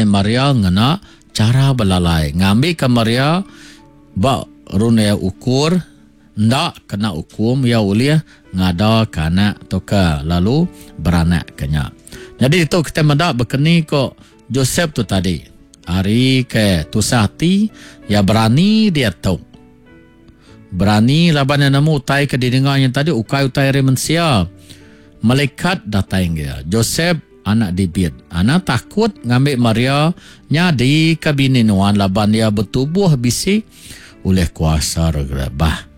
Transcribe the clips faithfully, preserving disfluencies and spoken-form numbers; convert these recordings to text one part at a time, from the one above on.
mai Maria ngena chara belalai ngambika Maria ba runding ukur enda kena ukum, iya ulih ngadaka anak tauka lalu beranak ke nya. Nyadi ditu kita meda bekeni ko Joseph tu tadi. Ari ke tusah ati, iya berani diatu. Berani laban iya nemu utai ke didinga nya tadi ukai utai ari mensia. Malaikat datai ngagai iya. Joseph anak David, anang takut ngambi Maria nyadi ke bini nuan laban iya betubuh bisi ulih kuasa Roh Kudus. Bah,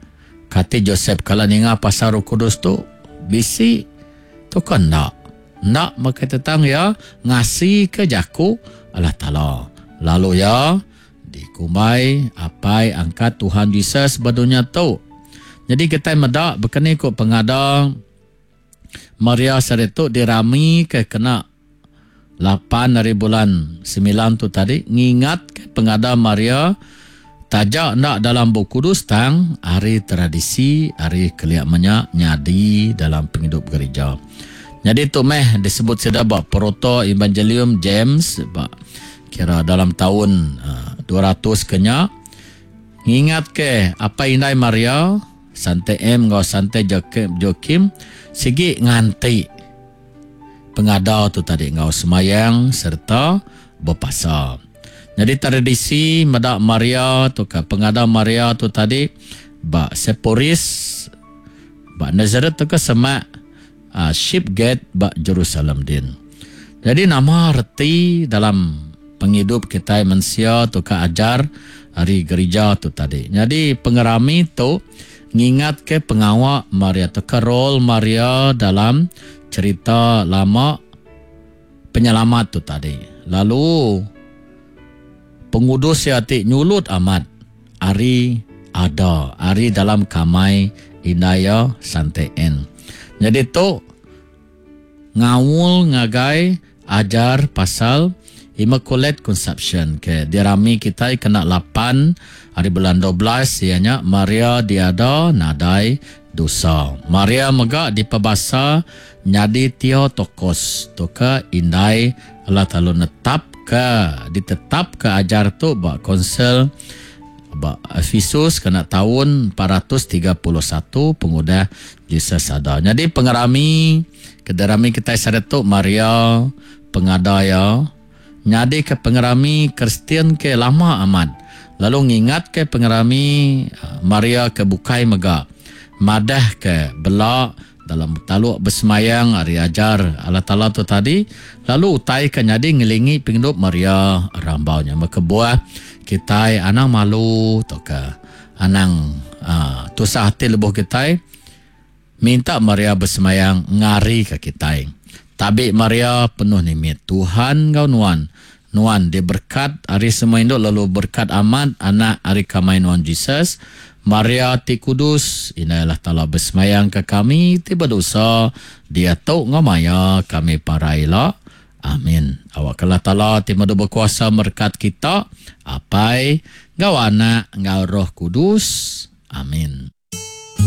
kati Joseph kala ninga pasal Roh Kudus tu bisi tu ke enda? Enda mega tentang iya ngasi ke jaku Allah Taala. Lalu iya dikumbai apai angkat Tuhan Jesus ba dunya tu. Jadi kita meda bekeni ku pengada Maria sehari tu dirami ke kena lapan hari bulan semilan tu tadi, ngingat ke pengada Maria taja enda dalam Bup Kudus tang ari tradisi ari kelia menya nyadi dalam pengidup gereja. Jadi tu meh disebut sida ba Proto Evangelium James ba kira dalam tahun uh, dua ratus kenya, ngingat ke apai indai Maria Sante M enggau Sante Joachim sigi nganti pengada tu tadi enggau semayang serta berpasa. Jadi tradisi meda Maria tu ke pengada Maria tu tadi ba Sepphoris ba Nazareth tu ke semak uh, Sheep Gate ba Jerusalem din. Jadi nama reti dalam pengidup kita mensia tu ke ajar hari gereja tu tadi. Jadi pengerami tu ngingat ke pengawa Maria tu ke role Maria dalam cerita lama penyelamat tu tadi. Lalu pengudus ia ti nyulut amat ari ada ari dalam kamai Indaya Sante N. Jadi tu ngaul ngagai ajar pasal Immaculate Conception ke dirami kita kena lapan hari bulan dua belas, ianya Maria diada nadai dosa. Maria mega dipebasa nyadi Theotokos tu ke indai Allah Taala netap ke ditetap ke ajar tu ba konsel ba Efesus kena tahun empat ratus tiga puluh satu pengudah Jesus ada. Jadi pengerami kederami kita sehari tu Maria pengada ya nyadi ke pengerami Kristian ke lama amat. Lalu ngingat ke pengerami Maria ke bukai mega madah ke bela dalam taluk bersemayang hari ajar Allah Taala tu tadi. Lalu utai ke nyadi ngelingi pengidup Maria rambaunya. Maka buah kita anang malu atau ke anang uh, tusah hati lebuh kita minta Maria bersemayang ngari ke kita. Tabi Maria penuh nimit Tuhan ngau nuan. Nuan diberkat hari semua induk lalu berkat amat anak hari kamai nuan Jesus. Maria ti kudus, indai Allah Taala bersemayang ke kami ti berdosa dia tu ngau maya kami paraila. Amin. Awak Allah Taala ti madu berkuasa berkat kita, Apai, ngau Anak, ngau Roh Kudus. Amin.